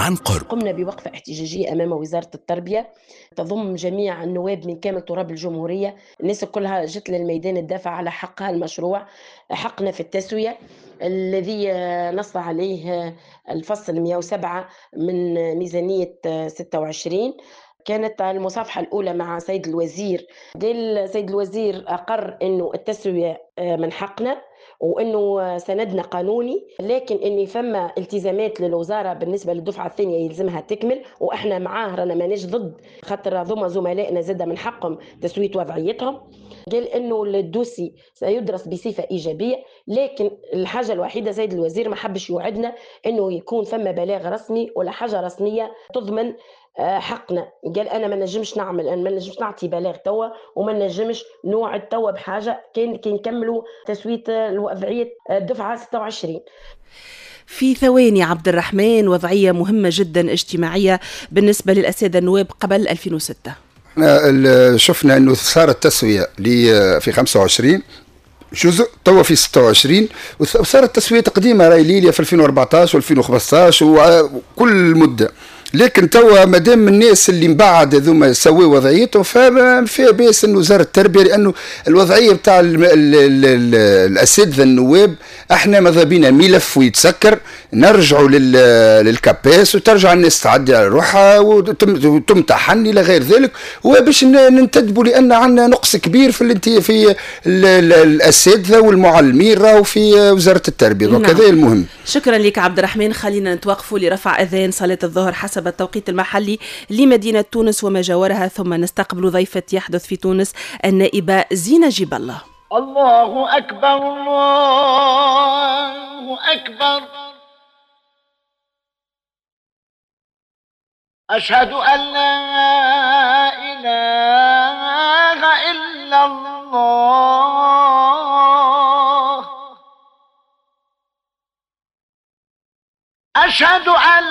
عن قرب. قمنا بوقفة احتجاجية أمام وزارة التربية تضم جميع النواب من كامل تراب الجمهورية. الناس كلها جت للميدان الدافع على حقها المشروع، حقنا في التسوية الذي نص عليه الفصل 107 من ميزانية 26. كانت المصافحة الأولى مع سيد الوزير. قال سيد الوزير أقر أنه التسوية من حقنا وأنه سندنا قانوني، لكن أن فما التزامات للوزارة بالنسبة للدفعة الثانية يلزمها تكمل، وإحنا معاه رانا ماناش ضد، خاطر هذوما زملائنا زادة من حقهم تسوية وضعيتهم. قال أنه الدوسي سيدرس بصفة إيجابية، لكن الحاجة الوحيدة سيد الوزير ما حبش يوعدنا أنه يكون فما بلاغ رسمي ولا حاجة رسمية تضمن حقنا. قال انا ما نجمش نعمل، انا ما نجمش نعطي بلاغ توا وما نجمش نوعد توا بحاجة كان نكملوا تسويه الوضعية الدفعة 26. في ثواني عبد الرحمن، وضعية مهمة جدا اجتماعية بالنسبة للاساتذه النواب قبل 2006. احنا شفنا انه صارت تسويه في 25 جزء، توا في 26، وصارت تسويه قديمة راي ليليا في 2014 و2015 وكل مده. لكن توا مادام الناس اللي من بعد هذوما سووا وضعيتهم فما فيها باس انه وزارة التربية، لانه الوضعية بتاع الاساتذة النواب احنا ماذا بينا ملف ويتسكر، نرجعوا لل CAPES وترجع الناس تعدي على روحها وتمتحن الى غير ذلك، وباش ننتدبوا لان عندنا نقص كبير في الاساتذة والمعلمين راهو في وزارة التربية. نعم. هذا المهم. شكرا لك عبد الرحمن. خلينا نتوقفوا لرفع اذان صلاة الظهر حسب التوقيت المحلي لمدينة تونس وما جاورها، ثم نستقبل ضيفة يحدث في تونس النائبة زينة جيب الله. الله أكبر الله أكبر، أشهد أن لا إله إلا الله، أشهد أن